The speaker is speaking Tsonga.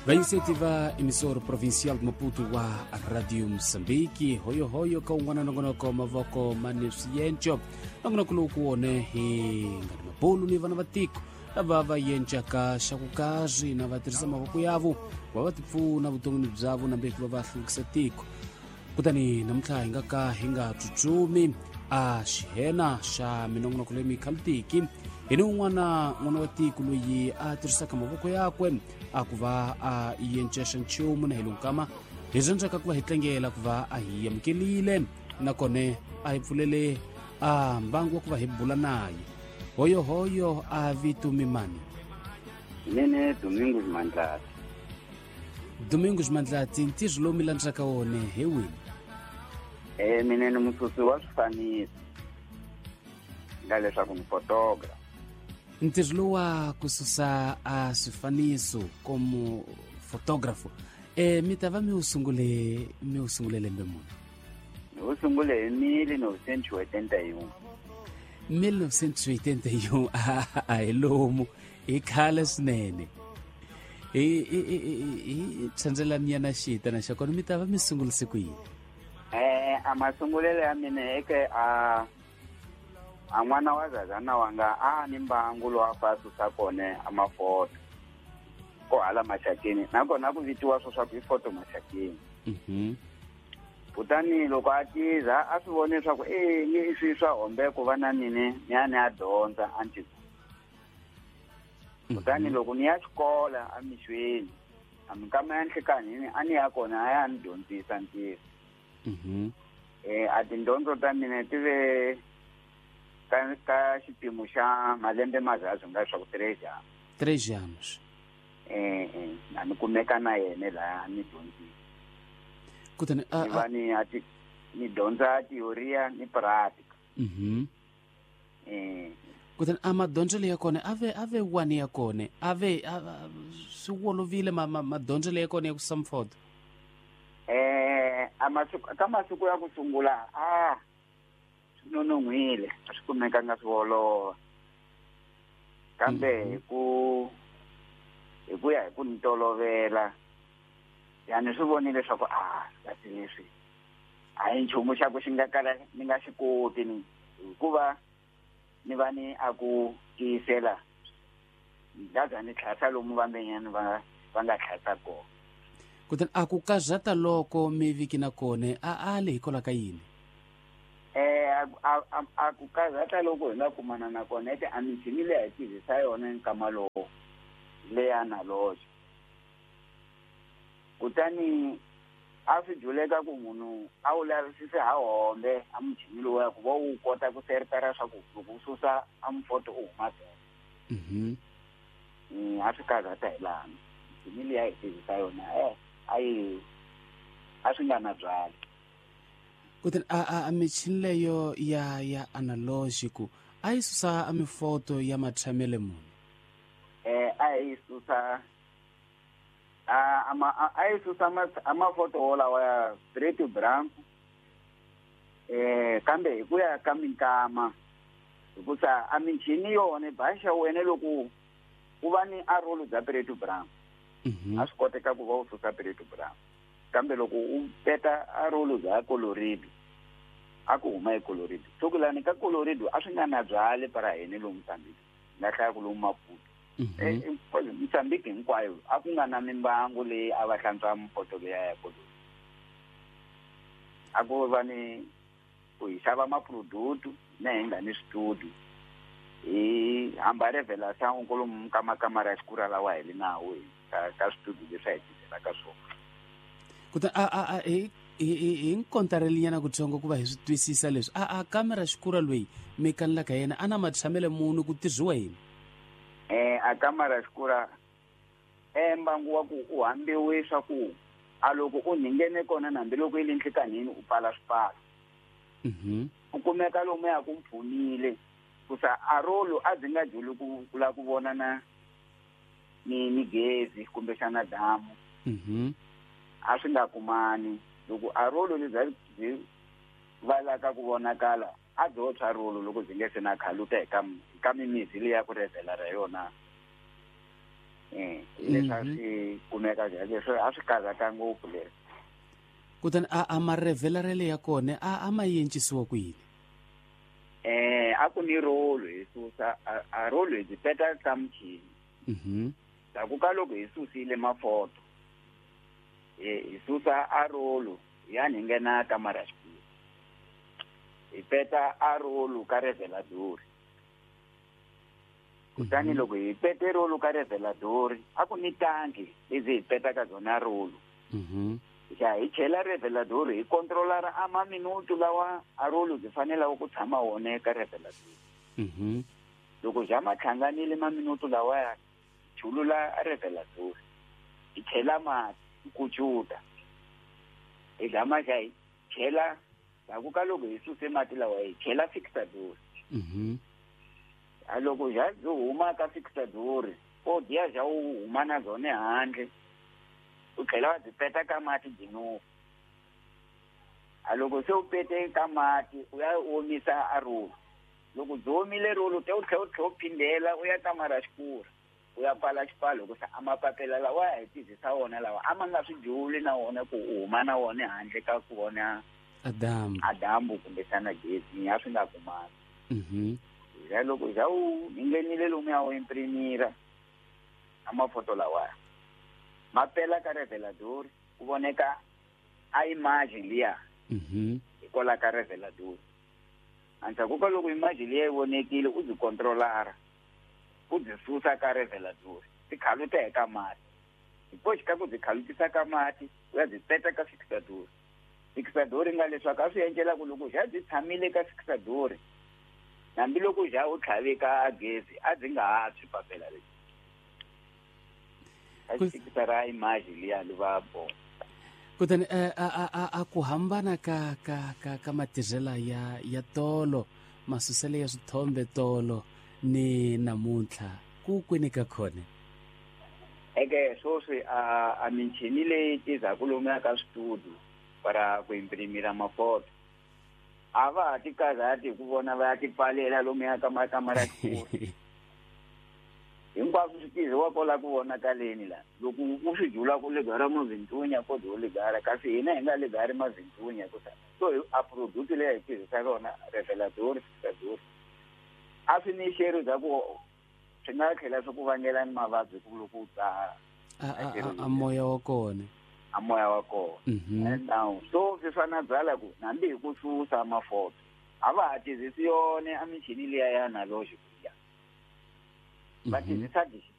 Va iniciativa emissora provincial de Maputo wa Radio Moçambique, hoyohoyo ka un'wana nongonoko mavoko mani swiyenco. Nongonoko lowu ku wone hi nga ni mabulu ni vana va tiko lava va yencaka xa ku karhi na va tirhisa mavoko yavo va va tipfuna vuton'wini byavo nambe ku va va hluvukisa tiko. Kutani namuntlha hi nga ka hi nga tsutsumi a xihena xa minongonoko leyi mikhalutiki hi ni un'wana n'wana wa tiko loyi a tirhisaka mavoko yakwe a ku va a yencexa nchumu na hi lonkama hi rhandzaka ku va hi tlangela ku va a hi amukelile nakona a hi pfulele a mbangu wa ku va hi bula naye. Hoyohoyo a vito mimani. Mine Domingos Mandlati. Domingos Mandlati, ntirho lowu mi landzaka wona hi wini? Mina ni mususi wa swifaniso, nga leswaku ni photographer. Ntirho lowu wa ku susa a swifaniso como photographer, mi ta va mi wu sungule lembe muni? Ni wu sungule hi 1981. 1981 a hi lomu hi khale swinene. Hi tshandzelanyana xitana xa kona mi ta va mi sungurise ku yini? A masungulelo ya mina eke a n'wana wa zazana wanga a ni mbangu lowu a fa susa kona a mafoto ko hala Maxakeni, nakona ku vitiwa swo swa ku i foto Maxakeni. Kutani loko a tiza a swi vone leswaku i swi swa hombe ku va na mine ni ya ni ya dyondza a nti. Kutani loko ni ya xikola emixweni a minkama ya nhlikanhini a ni ya kona a ya ni dyondzisa ntirho. A tindyondzo ta mina ti ve ka xipimo xa malembe mazazwi nga leswaku 3 anos. 3 anos. Na ni kumeka na yena laha ni dyondzisa. Kutani ni va ni ni dyondza teoria ni pratica. Kutani a madyondzelo ya kona ave wani ya kona ave swi wolovile madyondzelo ya kona ya ku susa mfoto? Ka masiku ya ku sungula a swi nonon'hwile, a swi kumekanga swi olova. Kambe hi ku ya hi ku ni tolovela yani swi vonile leswaku kasi leswi a hi nchumu xa ku xi nga kala ni nga xi koti ni hikuva ni va ni a ku tiyisela ndaza ni tlhasa lomu vambenyani va nga tlhasa kona. Kutani a ku kazata loko mi viki na kona a le hikwalaho ka yini? A ku kazata loko hi nga kumana na kona ete a michini leyi hi tirhisa yona nkama lowu leya analogy. Kutani a swi dyuleka ku munhu a wu lavisise ha hombe a muchini lowu ya ku va wu kota ku seritara swa ku loko u susa a mufoto u huma bele. A swi karhata hi laha michini leyi a hi tirhisa yona a swi nga na byali. Kutani a michini leyo ya analogic a yi susa a mifoto ya matshamele muni? A yi susa a yi susa amafoto wolawa ya preto branco, kambe hi ku ya ka minkama hikusa a michini yona baxa wena loko ku va ni a rolo bya preto branco a swi koteka ku va u susa preto branco, kambe loko u peta a rolo bya colorido a ku huma e colorido. Sokulani ka colorido a swi nga na byali para hina lomu Mozambique, nga hlaya ku lomu Maputo. Mozambique hinkwayo a ku nga na mimbangu leyi a va hlantswa mpoto leya ya colorido. A ku va ni ku hi xava maproduct na hi nga ni switudio hi hamba revelação kolomu ka makamara ya xikura lawa hi le nawo ka switudio leswi a hi tirhelaka swona. Kutani a hi nkontarelinyana kutsongo ku va hi swi twisisa leswi a kamera xikura loyi mi kanelaka yena a na matshamele muni ku tirhiwa yini? A kamera xikura mbangu wa ku u hambiwe swa ku a loko u nghene kona na hambiloko yi le nhlikanhini u pfala swipfalo. U kumeka lomu ya ku mpfunile kusa a rolo a byi nga dyuli ku lava ku vona na ni gezi kumbexana damu. A swi nga kumani loko a rolo lebyi byi valaka ku vonakala a byo tshwa rolo loko byi nge se na khaluta hi ka mimizi leyi ya ku revhela ra yona. Leswi a swi kumeka leswi a swi karhata ngopfu leswi. Kutani a marevelarele ya kona a ma yencisiwa ku yini? A ku ni rolo hi susa a rolo hi peta ka muchini. Ndzhaku ka loko hi susile mafoto hi susa a rolo ya ni nghena kamara xikulu hi peta a rolo ka revelador. Kutani loko hi pete rolo ka revelador a ku ni tanki lezi hi peta ka zona rolo. Ya hi chela revelador hi controlara a maminutu lawa a rolo byi fanelaka ku tshama wona ka revelador. Loko ja ma hlanganile maminutu lawa ya chulula revelador hi chela mati hi kucuta hi gama xa hi chela ndzhaku ka loko hi suse mati lawa hi chela fixador. A loko ja byi huma ka fixador o diya ja u huma na byona handle u tlhela wa byi peta ka mati byi nuka. A loko se u pete ka mati u ya omisa a rolo. Loko byi omile rolo te u tlhela u phindela u ya kamara xikura u ya pfala xipfalo hikusa a mapapila lawa ya hi tirhisa wona lawa a ma nga swi juli na wona ku u huma na wona handle ka ku vona a dyambu kumbexana gezi a swi nga kumani. Ya loko ja u nghenile lomu ya u imprimira a mafoto lawaya ma pela ka revelador ku voneka a image liya hikwalaho ka revelador. Endzhaku ka loko image liya yi vonekile u byi controlara u byi susa ka revelador ti khaluta eka mati. Hi ka ku byi khalutisa ka mati u ya byi peta ka fixador. Fixador nga leswaku a swi endlela ku loko ja byi tshamile ka fixador hambiloko ja u tlhave ka gezi a byi nga ha tshwi papela leri. A xikisara image liya li va bo. Kutani a ku hambana ka ka ka ka matirhela ya tolo masusele ya swithombe tolo ni namuntlha ku kwini ka khona? Eke sweswi a michini leyi tirhaka lomuya ka switudio para ku imprimira mafoto a va ha ti karhati hi ku vona va ya ti pfalela lomuya ka makamara xikulu. Hinkwaswo swi tirhiwa kwala ku vonakaleni la. Loko u swi jula ku ligara mavintunya ko do ligara kasi hina hi nga ligari mavintunya hikusa so a product leyi hi tirhisaka yona revelador fixador a swi ni xero bya ku swi nga tlhela swi ku vangela ni mavabyi ku loko u dzaha a moya wa kona. A moya wa kona. And now so swi fana byala ku hambi hi ku susa mafoto a va ha tirhisi yona a michini liya ya analogy va tirhisa digital.